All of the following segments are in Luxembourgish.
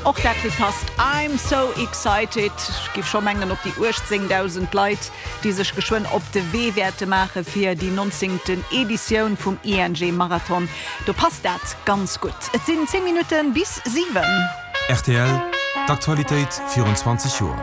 Och dat Lidd passt, I'm so excited. Ech géif scho mengen op déi 18.000 Leit, déi sech geschwënn op de Wee wäerte maache fir déi nonzéngten Editioun vum ING Marathon, do passt dat ganz gutt. Et sinn 10 Minutte bis 7. Rtl, D'Aktualitéit virun 20 Joer.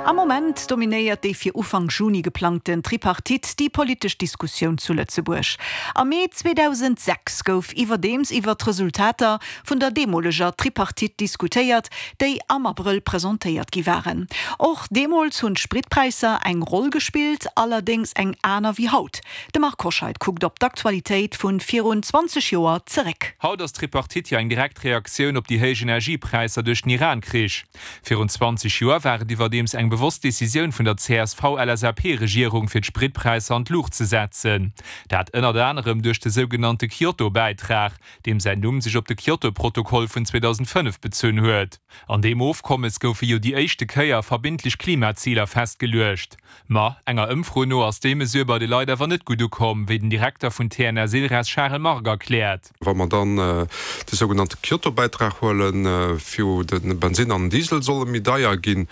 Am Moment dominéiert déi fir Ufank Juni geplangten Tripartite déi politesch Diskussioun zu Lëtzebuerg. Am Mee 2006 gouf iwwerdeems iwwer d'Resultater vun der deemoleger Tripartite diskutéiert, déi am Abrëll presentéiert gi waren. Och deemools hunn d'Spritpräisser eng Roll gespillt, allerdéngs eng aner wéi haut. De Marc Hoscheid kuckt op d'Aktualitéit vu virun 20 Joer zeréck. Haut ass d'Tripartite jo eng direkt Reaktioun op déi héich Energiepräisser duerch den Iran-Krich. Virun 20 Joer war et iwwerdeems eng bewosst Decisioun vun der CSV-LSAP-Regierung fir d'Spritpräisser an d'Luucht ze setzen. Dat ënnert anerem duerch de sougenannte Kyoto-Bäitrag, deem säin Numm sech op de Kyoto-Protokoll vun 2005 bezunn huet. An deem Ofkommes goufe jo déi éischte Kéier verbindlech Klimaziler festgeluecht. Ma enger Ëmfro no ass déi Mesure bei de Leit awer net gutt ukomm, wéi den Direkter vun TNS Ilres Charel Margue erkläert. Wa mer dann de sougenannte Kyoto-Bäitrag huelen, wou de Bensinn an den Diesel solle méi deier ginn,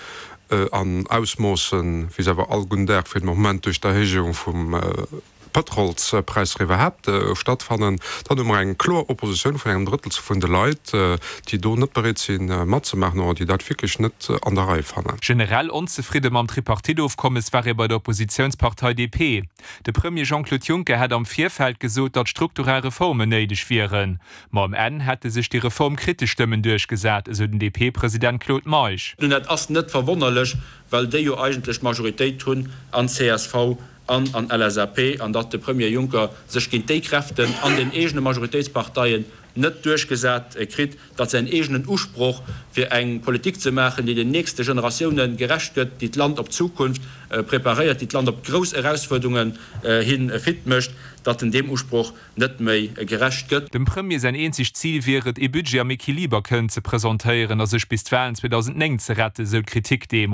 an Ausmoossen, wéi se awer all gudden Dag fir de Moment duerch d'Erhéijung vum Pëtrolspräisser iwwerhaapt stattfannen, dann hu mer eng kloer Oppositioun vun engem Drëttel vun de Leit, déi do net bereet si matzemaachen oder déi dat wierklech net an der Rei fannen. Generell onzefridde mam Tripartite-Ofkommes war ee bei der Oppositiounspartei DP. De Premier Jean-Claude Juncker hätt am Virfeld gesot, datt strukturell Reformen néideg wieren. Ma um Enn hätte sech déi reformkritesch Stëmmen duerchgesat, esou den DP-President Claude Meisch. Nun, dat ass net verwonnerlech, well déi jo eigentlech d'Majoritéit hunn an csv an an LSAP, an datt de Premier Juncker sech géint déi Kräften an den eegene Majoritéitsparteien net duerchgesat kritt, datt säin eegenen Usproch, fir eng Politik ze maachen, déi den nächste Generatioune gerecht gëtt, déi d'Land op d'Zukunft preparéiert, déi d'Land op grouss Erausfuerderungen hi fit mécht, datt en deem Usproch net méi gerecht gëtt. Dem Premier säin eenzegt Zil wier et, ee Budget am Equiliber kënnen ze presentéieren a sech bis d'Walen 2009 ze retten, sou d'Kritik deemools.